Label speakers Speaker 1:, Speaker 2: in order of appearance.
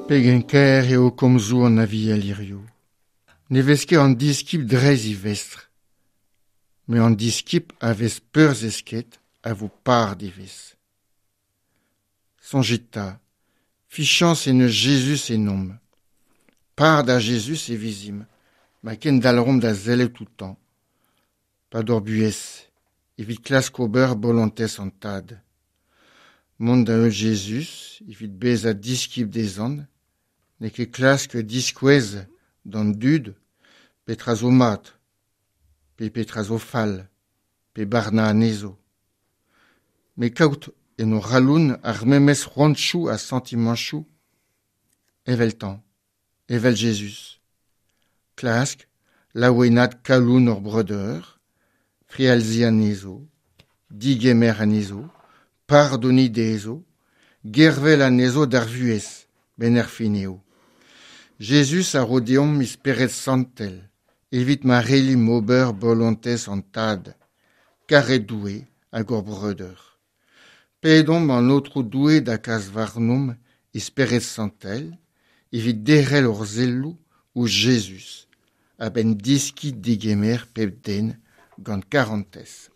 Speaker 1: Pegen kaer eo komzoù an Aviel hiziv. Ne vez ket an diskibl dreist e vestr, met an diskibl a vez peurzesket a vo par d'e vestr. Soñjit 'ta, fiziañs en deus Jezuz ennomp. Par da Jezuz e vezimp ma kendalc'homp da sellet outañ 'pad hor buhez evit klask ober bolontez an Tad. Mont da heul Jezuz evit bezañ diskibl dezhañ n'eo ket klask diskouez d'an dud petra zo mat pe petra zo fall pe barnañ anezho. Met kaout en hor c'halon ar memes c'hoantoù ha santimantoù eveltañ, evel Jezuz. Klask laouenaat kalon hor breudeur, frealziñ anezho, digemer anezho, pardoniñ dezho, gervel anezho d'ar vuhez, 'benn ar fin eo. Jezuz a ro deomp e Spered Santel evit ma c'hellimp ober bolontez an Tad, karet Doue hag hor breudeur. Pedomp an Aotrou Doue da kas warnomp e Spered Santel evit derc'hel hor selloù ouzh Jezuz a-benn deskiñ degemer pep den gant karantez.